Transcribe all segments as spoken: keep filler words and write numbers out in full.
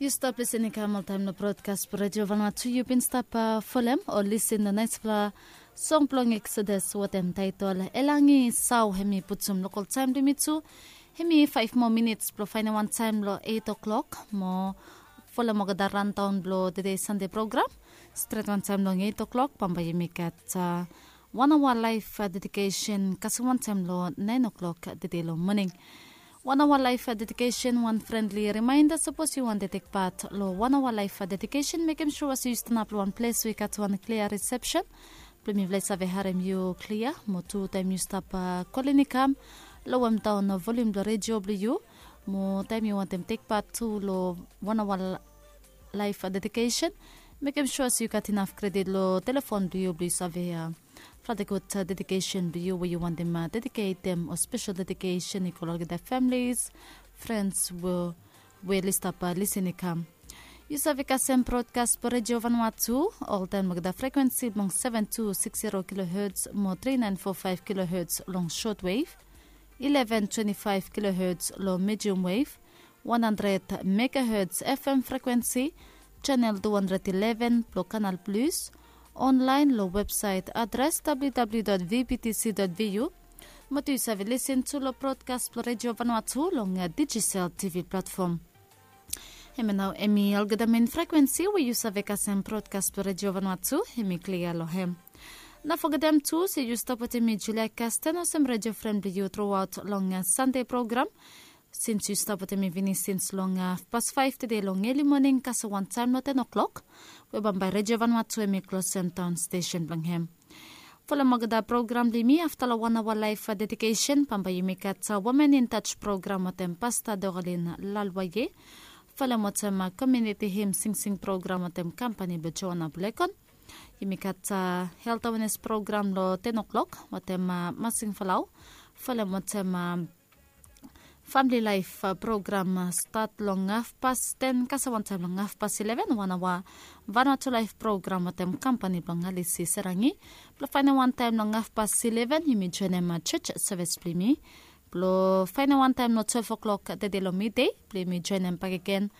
Yu stap lisin i kam oltaem long brodkas blong Redio Vanuatu. Yu bin stap folem o lisin long naesfala song blong Eksodas wetem taetol Elangi Sau. Hem i putum lokol taem blong yumi tu. Hem i faef moa minits blong faenem wantaem long eit oklok. Mo folem olgeta randaon blong tede Sande program. Stret wantaem long eit oklok bambae yumi gat wan aoa laef dedikesen kasem wantaem long naen oklok tede long moning. Wan aoa laef dedikesen, wan frenli rimaenda, sapos yu wantem tek pat long wan aoa laef dedikesen, mekem sua se yu stanap long wan ples we i gat wan klia risepsen blong mifala i save harem yu klia. Mo tu taem yu stap kolin i kam lowemdaon volium blong redio blong yu. Mo taem yu wantem tek pat tu long wan aoa laef dedikesen, mekem sua se yu gat inaf kredit long telefon blong yu blong yu save fala gud dedikesen blong yu we yu wantem dediketem, o spesel dedikesen i go long olgeta familis, frens we oli stap lisin i kam. Yu save kasem brodkas blong Redio Vanuatu oltaem long olgeta frekwensi blong seven two six zero kilohertz mo three nine four five kilohertz long shortwave, eleven twenty-five kilohertz long medium wave, one hundred megahertz F M frekwensi, channel two hundred eleven blong Canal Plus, online long websaet adres W W W dot V B T C dot V U. Mo tu yu save lisin tu long brodkas blong Redio Vanuatu long Digicel T V platfom. Hemia nao hemi olgeta mein frekwensi we yu save kasem brodkas blong Redio Vanuatu, hemi klia long hem. No fogetem tu se yu stap wetem mi, Julia Kasten, olsem redio fren blong yu truaot long Sande program. Sins yu stap wetem mi finis sins long hafpas faef tede long eli moning kasem wantaem long ten oklok, we bambae Redio Vanuatu hemi klosem daon stesen blong hem. Folem olgeta program blong yumi. Afta long wan aoa laef dedikesen, bambae yumi gat Women in Touch program wetem Pasta Doralin Lalwaye. Folem wetem komiuniti him singsing program wetem kampani blong Joana Bulekon. Yumi gat helt awenes program long ten oklok wetem Masing Falau. Folem wetem famili laef program, stat long hafpas ten kasem wantaem long hafpas eleven, wan aoa Vanuatu laef program wetem kampani blong Alisi Serangi. Blong faenem wantaem long hafpas eleven yumi joenem jos sevis blong yumi. Blong faenem wantaem long twelef oklok tede long midei blong yumi joenem bakegen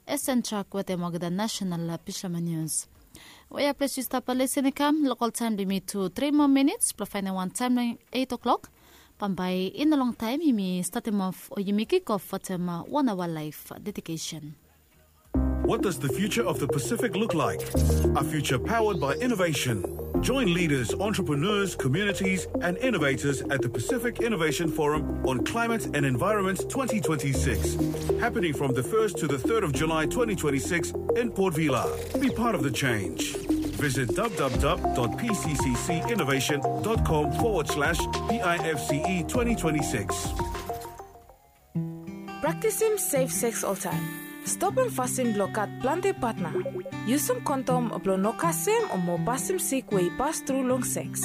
Esen Trak wetem olgeta nasenal bishoman nius. Wea ples yu stap lisin i kam, lokol taem blong yumi tu tri moa minits blong faenem wantaem long eit oklok. Bambae i no longtaem yumi statem of o yumi kik of wetem wan aoa laef dedikesen. What does the future of the Pacific look like? A future powered by innovation. Join leaders, entrepreneurs, communities, and innovators at the Pacific Innovation Forum on Climate and Environment twenty twenty-six, happening from the first to the third of July twenty twenty-six in Port Vila. Be part of the change. Visit W W W dot P C C C innovation dot com forward slash P I F C E twenty twenty-six. Praktisim sef seks oltaem. Stopem fasin blong gat plante patna. Yusum kondom blong no kasem o mo pasem sik we i pas tru long seks.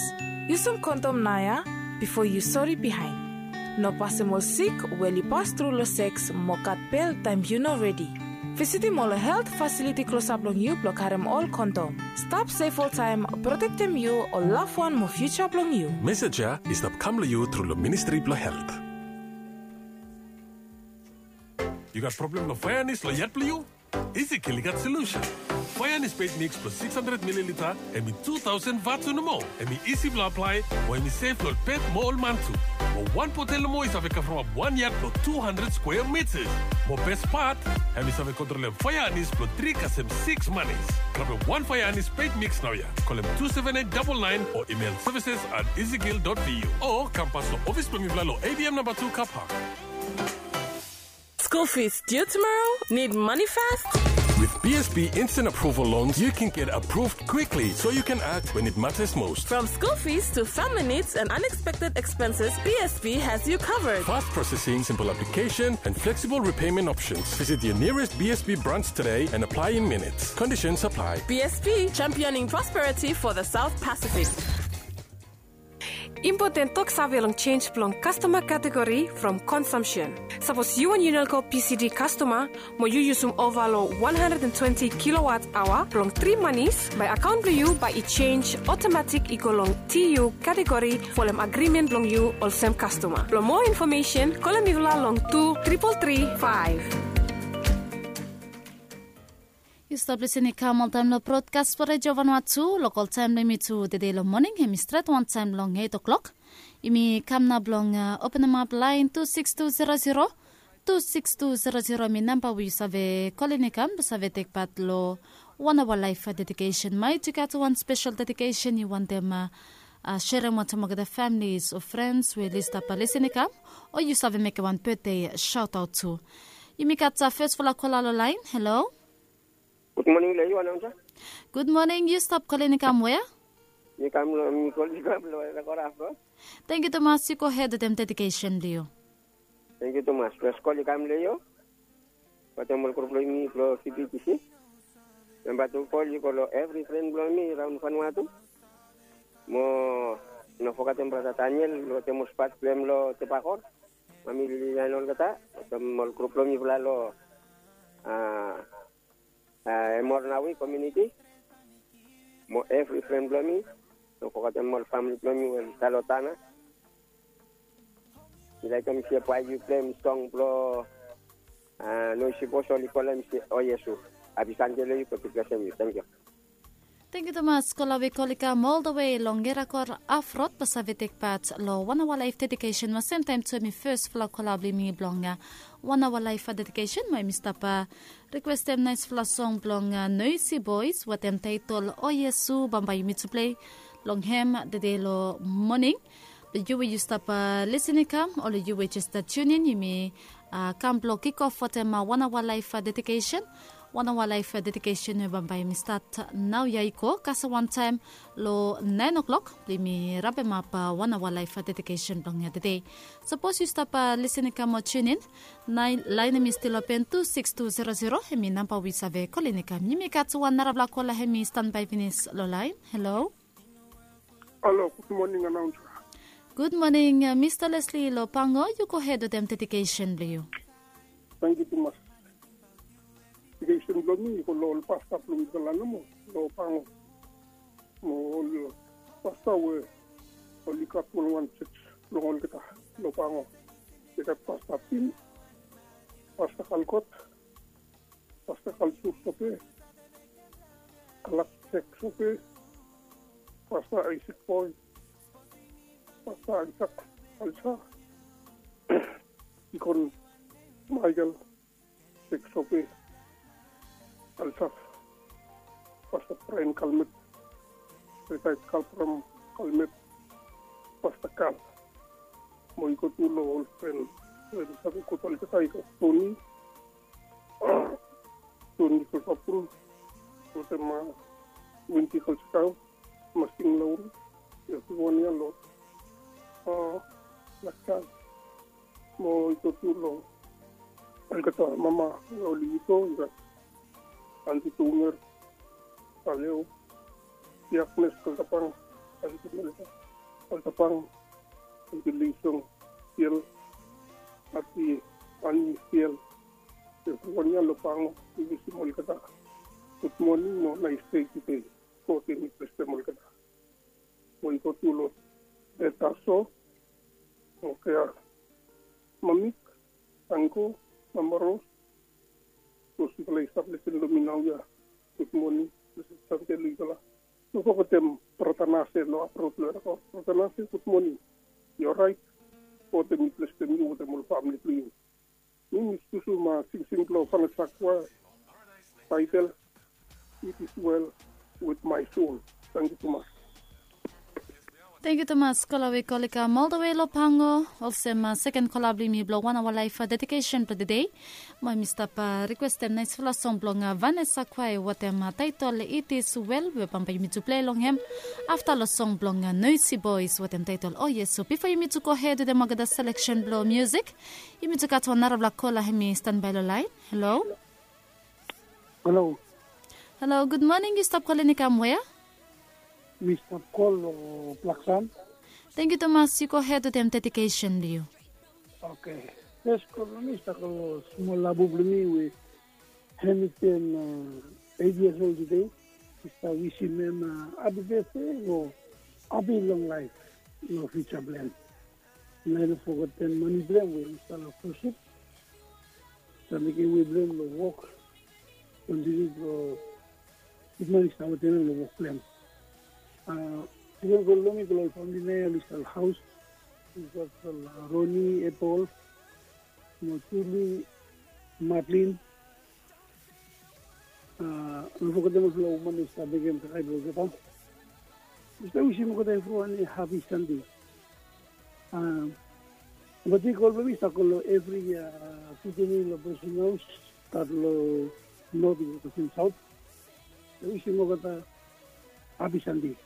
Yusum kondom naoia bifo yu sori bihaen. No pasem ol sik we oli pas tru long seks mo gat bel taem yu no redi. Visitim ol helt fasiliti klosap long yu blong karem ol kondom. Stap sef oltaem, protektem yu, ol lavwan mo fiuja blong yu. Mesej ya i stap kam long yu tru long Ministri blong Helt. Yu gat problem long faeanis long yad blong yu? Ezekiel i gat solusen. Faeanis peit miks blong six hundred mililita, hemi tu taosen vatu nomo. Hemi isi blong aplae, mo hemi sef long ol pet mo ol man tu. Mo wan botel nomo i save kavremap wan yad blong tu handred skwea mitas. Mo bes pat, hemi save kontrolem faeanis blong tri kasem siks manis. Grabem wan faeanis peit miks naoia. Kolem tu seven eight double nine o imel services at ezekiel dot V U. O kam pas long ofis blong mifala long A B M namba tu car park. School fees due tomorrow? Need money fast? With B S B Instant Approval Loans, you can get approved quickly so you can act when it matters most. From school fees to family needs and unexpected expenses, B S B has you covered. Fast processing, simple application, and flexible repayment options. Visit your nearest B S B branch today and apply in minutes. Conditions apply. B S B, championing prosperity for the South Pacific. Impoten toksave long jenj blong kastoma kategori from konsumsen. Sapos yu wan Unelco P C D kastoma, mo yu yusum ova long wan handred and twenti kilowatt aoa blong tri manis, bae akaon blong yu bae i jenj otomatik i go long T U kategori folem agrimen blong yu olsem kastoma. Blong moa infomesen, kolem mifala long tu tripol tri faef. Yu stap lisin i kam oltaem long brodkas blong Redio Vanuatu. Lokol taem blong yumi tudei long moning hemi stret wantaem long eit o'klok. Yumi kam nao blong openemap laen tu sikis tu zero zero. Tu sikis tu zero zero hemi namba we yu save kolin i kam blong save tekpat long wan aoa laef dedikesen. Maet yu gat wan spesel dedikesen yu wantem serem wantaem olgeta familis o frens we oli stap lisin i kam, o yu save mekem wan betde saotaot tu. Yumi gat fesfala kola long laen. Halo. Gud moning long yu, anaunsa. Gud moning. Yu stap kolin i kam wea? Mi kam long mi kolin i kam long wea kora afro. Tengiu tumas. Yu gohed wetem dedikesen blong yu. Tengiu tumas. Fes kol i kam long yu wetem ol grup blong yumi blong kipikisi. Memba tu kol i go long evri fren blong mi raon Vanuatu. Mo no fogetem brata Daniel wetem ol spat blong hem long Tebakor. Mami Lilian olgeta wetem ol grup blong mifala long a a Emor Nawi komuniti mo evri fren blong mi. No fogetem ol famili blong mi we oli stap long Tana. Mi laekem se bae yu pleim song blong a Noisi Bos oli kolem se O Iesu. Hapi Sande long yu. God i blesem yu. Tengiu. Tengiu tumas. Kola we kol i kam oldawe long Erakor Afrod blong save tekpat long wan aoa laef dedikesen mo semtaem tu hemi fesfala kola blong yumi blong wan aoa laef dedikesen mo yumi stap rikwestem naesfala song blong Noisi Boes wetem taetol O Iesu. Bambae yumi tu plei long hem dedei long moning. Long yu we yu stap lisin i kam o long yu we jes tunin, yumi kam blong kikof wetem wan aoa laef dedikesen. Wan aoa laef dedikesen we bambae yumi stat naoia i go kasem wantaem long naen o'klok blong yumi rapemap wan aoa laef dedikesen blong yumi tudei. Sapos yu stap lisin i kam o tunin, laen hemi stil open tu sikis tu zero zero hemi namba we yu save kolin i kam. Yumi gat wan narafala kola hemi stanbae finis long laen. Halo. Halo, gud moning anaunsa. Gud moning. Mista Lesli long Pango, yu gohed wetem dedikesen blong yu. Tengiu tumas. Dedikesen blong mi i go long ol pasta blong mifala nomo long Pango mo ol pasta we oli gat wanwan jos blong olgeta long Pango. I gat Pasta Pin, Pasta Kalkot, Pasta Kalsur Sope, Kalak Sek Sope, Pasta Aisek Boe, Pasta Aisak Alsa, Dikon Maekel Sek Sope, Alsa, Pasta Braen Kalmet, Ritaet Kalpram Kalmet, Pasta Kal. Mo i go tu long ol fren we mi save kot olgeta, i gat Toni, Toni Sosapul wetem Winti Kalsikau, Masing Lauru, evriwan ia long Laksan. Mo i go tu long olgeta mama we oli wito, i gat Anti Tunger, Kaleo, Agnes Kaltapang, Anti Melita Kaltapang, Anti Lisong Siel, Anti Ani Siel. Evriwan ia long Pango, mi wisim olgeta gud moning mo naes dei tudei. God i blesem olgeta. Mo i go tu long Betaso, Okea, Mamik, Ango, Mamaros, ol sifala i stap lisin long mi naoia. Gud moning, blesed Sande long yufala. No fogetem brata Nase long Afrod long Erakor. Brata Nase, gud moning. Yu oraet? God hemi blesem yu wetem ol famili blong yu. Mi mi susu ma singsing blong Vanessa Choir, taetel It Is Well With My Soul. Tengiu tumas. Tengiu tumas. Kola we kol i kam oldawe long Pango. Olsem seken kola blong yumi blong wan aoa laef dedikesen blong tudei. Mo yumi stap rikwestem naesfala song blong Vanessa Choir wetem taetol It Is Well we bambae yumi tu plei long hem afta long song blong Noisi Boes wetem taetol O Iesu. Bifo yumi tu gohed wetem olgeta seleksen blong musik, yumi tu gat wan narafala kola hemi stanbae long laen. Halo. Halo. Halo, gud moning. Yu stap kolin i kam wea? Mi stap kol long Blaksan. Tengiu tumas. Yu gohed wetem dedikesen blong yu. Oke. Fes kol blong mi i stap go long smol labu blong mi we hemi ten eit yias ol tudei. Mi stap wisim hem hapi betde o hapi long laef long fiuja blong hem. Nao i no fogetem mane blong hem we i stap long fresip. Stap mekem we blong hem long wok. kontiniu blong givim mani stap wetem em long wok blong em. Sekem kol long mi kol ol famili na ya oli stap long haus. Ol Roni, Epol, mo Juli, Matlin. No fogetem olfala woman we i stap mekem kakae blong olgeta. Mi stap wisim olgeta evriwan hapi Sande. Olgeta i kol blong mi i stap kol long evri pikinini long Blessing House, stat long not i go kasem saot. Mi wisim olgeta hapi Sande.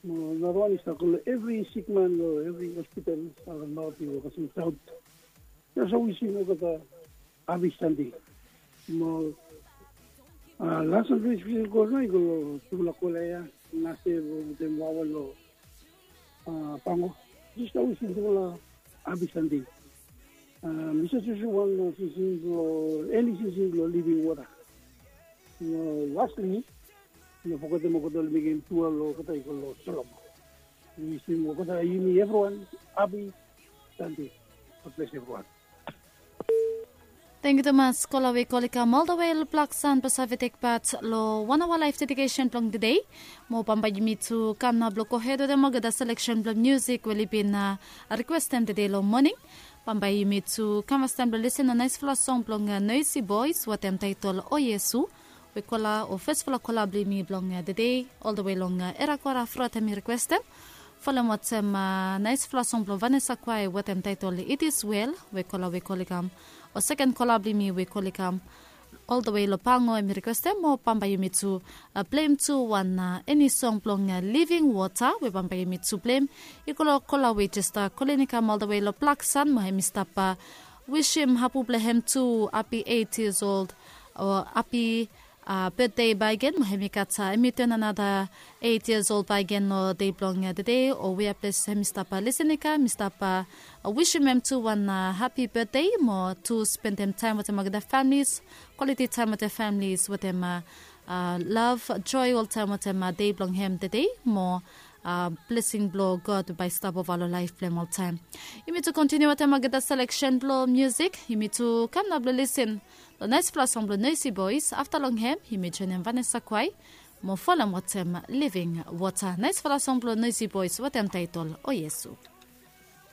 Mo narawan i stap kol long evri sikman long evri hospital, stat long not i go kasem saot. Mi also wisim olgeta hapi Sande. Mo las wan ples mi go nao i go long tufala kola ya, Nase wetem wawa long Pango. Mi stap wisim tufala hapi Sande. Mi stap wisim wan singsing blong eni singsing blong living wota. Mo lastli, no fogetem olgeta oli mekem tua long olgeta i go long Solomon. Mi wisim olgeta yumi evriwan hapi Sande. God bless everyone. Tangkiu tumas kola we i kol i kam oldawe long Blaksan blong save tekpat long wan aoa laef dedikesen blong tede. Mo bambae yumi tu kam nao blong gohed wetem olgeta seleksen blong musik we oli bin rikwestem tede long moning. Bambae yumi tu kam fastaem blong lisin long naesfala song blong Noisy Boys wetem taetol O Iesu. We kola o fesfala kola blong yumi blong tede, oldawe long Era Kwara Frot hem i rikwestem. Folem wetem naesfala song blong Vanessa Kwai wetem taetol It Is Well, we kola we kol i kam, o seken kola blong yumi we kol i kam oldawe long Pango hem i rikwestem. Mo bambae yumi tu pleim tu wan eni song blong Living Water we bambae yumi tu pleim i go long kola we jes kolin i kam oldawe long Blaksan, mo hem i stap wisim hapu blong hem tu hapi eit yias old, o hapi betde bakegen, mo hem i gat, hem i ten anata eit yias old bakegen long dei blong tede, o wea ples hem i stap lisin i kam, mi stap wisim hem tu wan hapi betde, mo tu spendem taem wetem olgeta familis, kwaliti taem wetem familis, wetem lav, joe oltaem wetem dei blong hem tede, mo blesing blong God bae i stap ova long laef blong hem oltaem. Yumi tu kontiniu wetem olgeta seleksen blong musik, yumi tu kam nao blong lisin long naesfala song blong Noisy Boys. Afta long hem yumi joenem Vanessa Kwai mo folem wetem Living Water, naesfala song blong Noisy Boys wetem taetol O Iesu.